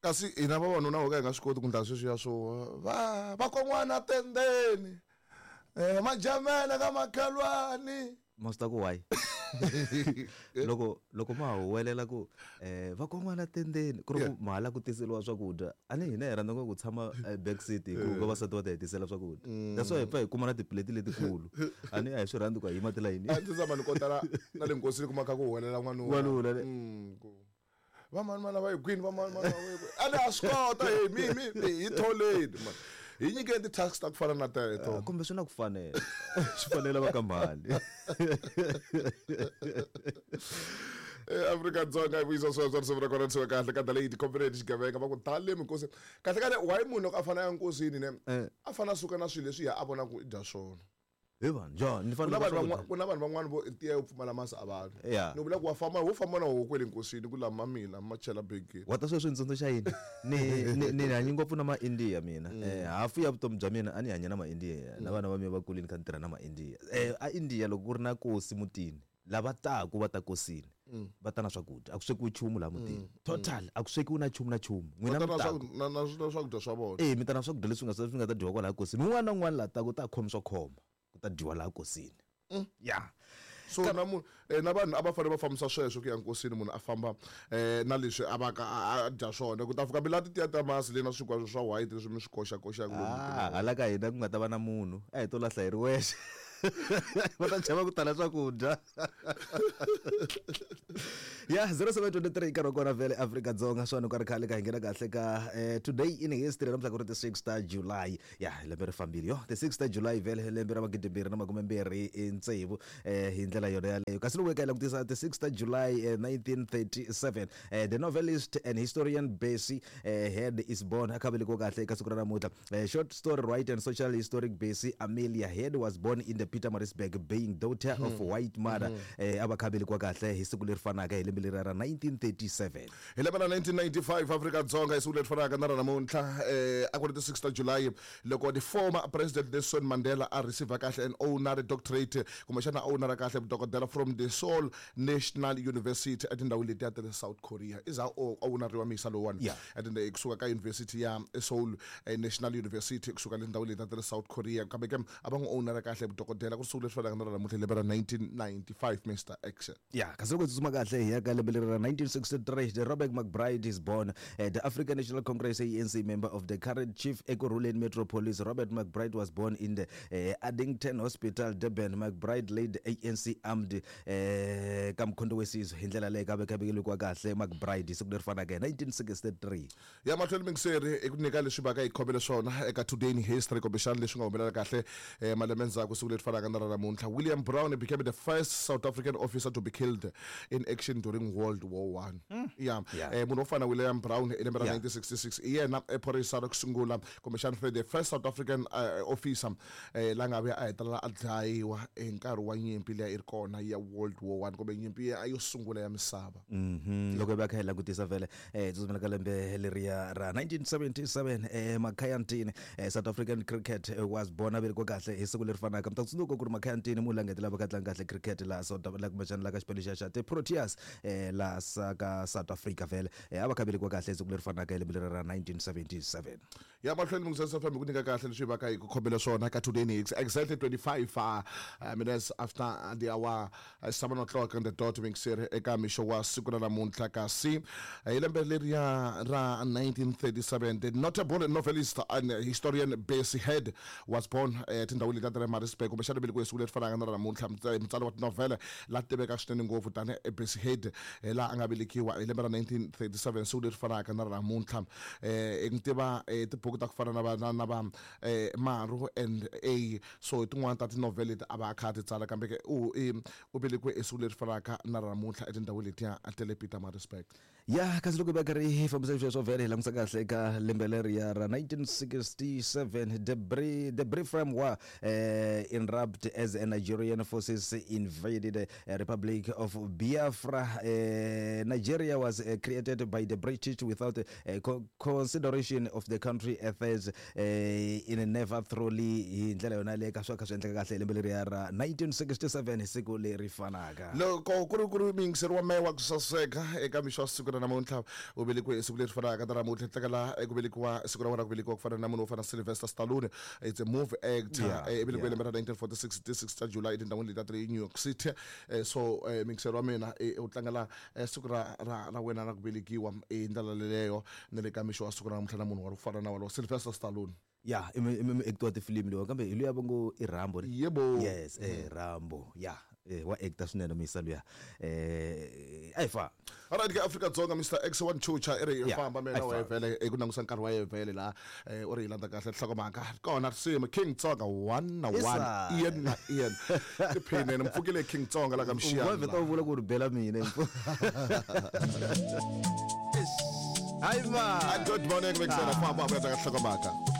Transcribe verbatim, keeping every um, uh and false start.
Kasi hina vavanuna ho ka hi nga swi koti ku ndla sweswiya swo va vakon'wana tendeni eh majamela ka makhelwani. Ma swi ta ku why? Loko loko ma huwelela ku eh vakon'wana tendeni ku ri ku mahala ku tiseliwa swakudya, a ni hina hi rhandza ngopfu ku tshama back seat hi ku vavasati va ta hi tisela swakudya. That's why hi pfa hi kuma na tipuleti letikulu. A ni a hi swi rhandzi ku hi yima tilayini. A ndzi tshama ni kotala na le nkosini kuma kha ku huwelela n'wanuna. N'wanuna le. Va mani mani va yi kwini, va mani mani va yi kwini. A ni a swi kota, hey, mi, mi, mi, hi tholeni, man. Hi nyikeni ti-tax ta ku fana na teto. Kumbe swi na ku fanela. Swi fanela va ka mali. Afrika Dzonga yi vuyisa sweswo risimu ra kona risimu kahle ka dale yi xigevenga va ku tale minkosi. Kahle kahle why munhu loko a fana ya nkosini ne a fana a suka na swilo leswi ya a vona ku i dya swona. Hi vanhu njhani? Ni fanele Ku na vanhu van'wa- ku na vanhu van'wana vo tiya yo pfumala masi a vanhu. Yeah. Ni vula ku wa famba, wo famba na huku kwele nkosini ku lama mina ma chela bege. Wa ta sweswi ntsundzuxa xa yini? Ni, ni, ni hanyi ngopfu na ma-India mina. Mm. Eh, hafu ya vutomi bya mina a ni hanya na ma-India. Na vana va mina va kulini kha ni tirha na ma-India. Eh, a India loko ku ri na kosi mutini, lava taku va ta kosini, Mm. va ta na swakudya. A ku swekiwi nchumu laha mutini. Mm. Total, a ku swekiwi na nchumu na nchumu. N'wina Va ta na mi taku. swaku-, na, na, na swakudya swa vona. Eh, mi ta na swakudya leswi nga, swi nga ta dyiwa kwalaha kosini. Un'wana na un'wana laha taku u ta khomi swo khoma. Ku ta dyiwa laha kosini. Mm. Yeah. So na munhu, eh, na vanhu a va fanele va fambisa sweswo ku ya nkosini, munhu a famba, eh, na leswi a va ka a, a dya swona. Ku ta fika mi lati tiya ta masi leyi na swinkwa swa white leswi mi swi koxa koxaka lomu Ah, mutini. hala ka hina ku nga ta va na munhu, a hi to lahla hi ri wexe. Va ta chava ku tala swakudya. Yeah, zero seven twenty-three nkarhi wa kona vhele Afrika Dzonga, swona ku ri khale ka hi nghena kahle ka, eh, today in history namuntlha ku ri ti six ta July. Yeah, lembe ri fambile yo. Ti six ta July vhele lembe ra magidi mbirhi na makume mbirhi tsevu, eh, hi ndlela yona yaleyo. Kasi loko hi ka hi langutisa ti six ta July, eh, nineteen thirty-seven, eh, the novelist and historian Bessie, eh, Head is born. A kha velekiwa kahle eka siku ra namuntlha. Eh, short story writer and social historic Bessie Amelia Head was born in the Pietermaritzburg, being daughter of Hmm. white mother. Hmm. Eh, a va kha velekiwa kahle hi siku leri fanaka hi lembe leri ra nineteen thirty-seven. Hi lembe ra nineteen ninety-five Afrika Dzonga hi siku leri fanaka na ra namuntlha, eh, a ku ri ti six ta July loko the former president Nelson Mandela a receive kahle an honorary doctorate, kumbexana honorary kahle vudokodela from the Seoul National University etindhawini letiya ta le South Korea. I za o honorariwa misa lowuwani. Yeah. Etindhawini kusuka ka University ya Seoul, eh, National University kusuka le tindhawini letiya ta le South Korea. Kambe ke a va n'wi honorary kahle vudokodela ku ri siku leri fanaka na ra namuntlha lembe ra nineteen ninety-five, Mister Action. Yeah, kasi loko hi tsutsuma kahle hi ya ka lembe leri ra nineteen sixty-three, the Robert McBride is born. Eh, the African National Congress A N C member of the current chief Ekurhuleni Metropolis. Robert McBride was born in the, eh, Addington Hospital, Durban. McBride led the A N C armed, eh, ka Mkhonto weSizwe hi ndlela leyi ka ve ka vekeliwa kahle McBride siku leri fanaka hi nineteen sixty-three. Ya mahlweni mingiseri i ku nyika leswi va ka hi khomele swona eka Today in History, kumbexana leswi nga humelela kahle, eh, malembe ndzhaku siku leri fanaka na ra namuntlha. William Brown became the first South African officer to be killed in action during World War One. Mm. Yeah. Yeah. Eh, munhu wo fana William Brown hi lembe ra Yeah. nineteen sixty-six i yena phorisa ra ku sungula, kumbexana the first South African, eh, officer, eh, la nga vuya a hetelela a dlayiwa hi nkarhi wa nyimpi leyi a yi ri kona ya World War One, kumbe nyimpi ya yo sungula ya misava. Mm-hmm. Loko hi va kha hi langutisa vhele, eh, tsutsumela ka lembe leriya ra nineteen seventy-seven, eh, Makhaya Ntini, eh, South African cricket, eh, was born, a velekiwa kahle hi siku leri fanaka. Mi ta tsundzuka ku ri Makhaya Ntini munhu la nga hetelela va kha tlanga kahle cricket laha South Africa, kumbexana laha ka xipano xa xa ti-Proteas, eh, laha sa ka South Africa vhele. Eh, a va kha velekiwa kahle hi siku leri fanaka hi lembe leri ra nineteen seventy-seven. Ya mahlweni Mzansi F M ku nyika kahle leswi va ka hi ku khomele swona ka Today in History. Exactly twenty-five, uh, uh, minutes after the hour, uh, seven o'clock on the dot, mingiseri eka mixo wa siku ra namuntlha. Kasi hi lembe leriya ra nineteen thirty-seven, the notable novelist and historian Bessie Head was born, eh, tindhawini letiya ta le Maritzburg, kumbexana velekiwe siku leri fanaka na ra namuntlha. Mutsa-, mutsari wa tinovhele la tiveka swinene ngopfu tanihi Bessie Head, eh, laha a nga velekiwa hi lembe ra nineteen thirty-seven, siku leri fanaka na ra namuntlha. Eh, ni tiva, eh, tibuku ta ku fana na va, na, na va, eh, Maru and A, so hi tin'wana ta tinovhele leti a va a kha a ti tsala, kambe ke u, i, u velekiwe hi siku leri fanaka na ra namuntlha etindhawini letiya ta le Pietermaritzburg. Ya, kasi loko hi va karhi hi fambisa sweswo vhele hi langutisa kahle eka lembe leriya ra nineteen sixty-seven, the Bri-, the Biafran War, eh, in erupt as Nigerian forces invaded the Republic of Biafra. Uh, Nigeria was uh, created by the British without uh, co- consideration of the country affairs uh, in never thoroughly hi ndlela yona leyi ka swa kha swi endleka kahle hi lembe leriya ra nineteen sixty-seven hi siku leri fanaka. Loko ku ri ku ri muyingiseri wa mehe wa ku saseka eka mixo wa siku ra namuntlha u velekiwe hi siku leri fanaka ta namuntlha tlekela eku velekiwa siku ra wena ku velekiwa ku fana na munhu wo fana na Sylvester Stallone. It's a movie actor. Yeah, Eh, i velekiwe yeah. lembe ra nineteen forty-six ti six ta July etindhawini leti ta le New York City. Eh, so eh, muyingiseri wa mina eh, u tlangela eh, siku ra ra ra wena ra ku velekiwa hi ndlela leleyo ni le ka mixo wa siku ra namuntlha na munhu wa ku fana na walowo Sylvester Stallone. Ya, i mi- i mi actor wa tifilimi lowa kambe hi luya va ngo i Rambo ne? Yebo. Yes, eh Rambo. Ya, eh, wa actor swinene muyisa luya. Eh a hi fa. Alright, ke Afrika-Dzonga Mister X one Chucha i ri Yeah, famba mina a hi wa famba. vhele eku langusa nkarhi wa yevhele laha eh, u ri hi landza kahle nhlokomhaka kona risimu King Tsonga one na one. Isa. Ian na Ian tiphinene mpfukile King Tsonga la ka U mxiyana vheta u vula ku ri bela mina. Hayi va. Good morning, mixera famba vuya ka nhlokomhaka.